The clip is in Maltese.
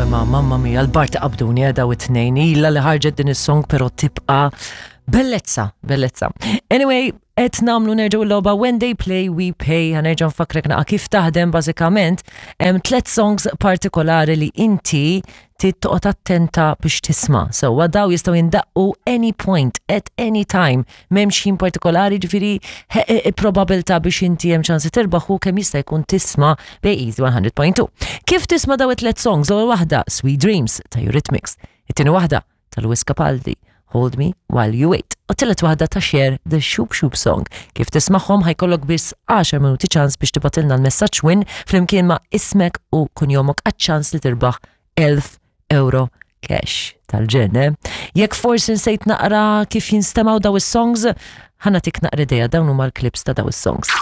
Imma mamma mia, l-Bart qabduni eh, daw it-tnejn. Ila li ħarġet din is-song pero tibqa' bellezza, bellezza. Anyway, qed nagħmlu nerġgħu l-logħba When They Play We Pay, ħa nerġa' nfakkrek naqa' kif taħdem bażikament. Hemm tliet songs partikolari li inti trid toqgħod attenta biex tisma'. Sewwa daw jistgħu jindaqqu any point, at any time. M'hemmx ħin partikolari, ġifieri probabilità biex inti hemm ċans li tirbaħ u kemm jista' jkun tisma' bej Easy 100.2. Kif tisma' daw it-tliet songs? L-ewwel waħda Sweet Dreams ta' Eurythmics, it-tieni waħda ta' Lewis Capaldi, Hold Me While You Wait, u t-tielet waħda ta' Cher The Shoop Shoop Song. Kif tismagħhom ħa jkollok biss 10 minuti ċans biex tibgħatilna l-messaġġ win flimkien ma' ismek u kunjomok għaċ-ċans li tirbaħ 1000 euro cash tal-ġenn, eh? Jekk forsi nsejt naqra kif jinstemaw daw is-songs, ħa nagħtik naqra idea dawn huma l-clips ta' daw is-songs.